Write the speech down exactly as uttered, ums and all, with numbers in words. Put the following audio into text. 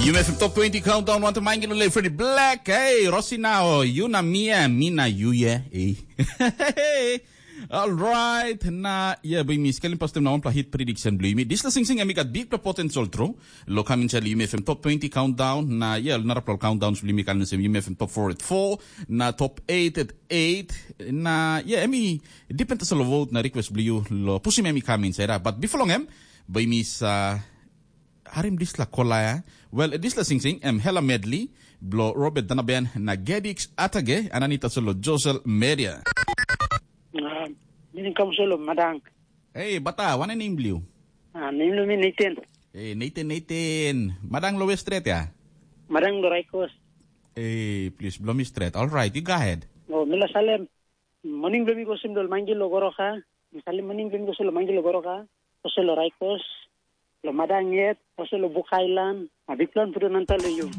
Yumi F M Top twenty Countdown, wantaim Angelo le Freddy Black. Hey, Rosina, o, yu na mi, eh, mi na yu, yeah. Hey. Alright, na, yeah, bai mi skelim pastaim na wanpela hit prediction bilong yumi. Dispela singsing em i gat bikpela potential tru. Lo kam inside Yumi F M Top twenty Countdown, na, yeah, narapela countdowns bilong yumi kan sem Yumi F M Top four at four, na Top eight at eight, na, yeah, em i depend tasol lo vote na request bilong yu lo pusim em i kam inside, ah. But before long em, bai mi sa harim dispela kola, ya. Well, dispela singsing, em Hela Medley, blo Robert Danaben, na Gedix Atage, anani tasol lo Josel Media. Ah, mi kam solo madang. Hey, bata, wana name bliu? Ah, name lo mi Nathan. Hey, Nathan, Nathan. Madang lo westret, ya? Madang lo Raikos. Hey, please, blow me straight. All right, you go ahead. Oh, mila salem. Morning blo mi go sim lo mangil lo goroka. Mi salem morning blo mi go sim lo mangil lo goroka. Ose lo Raikos. Lo madang yet. Ose lo Buk Island. A big plan putu nanta lo you.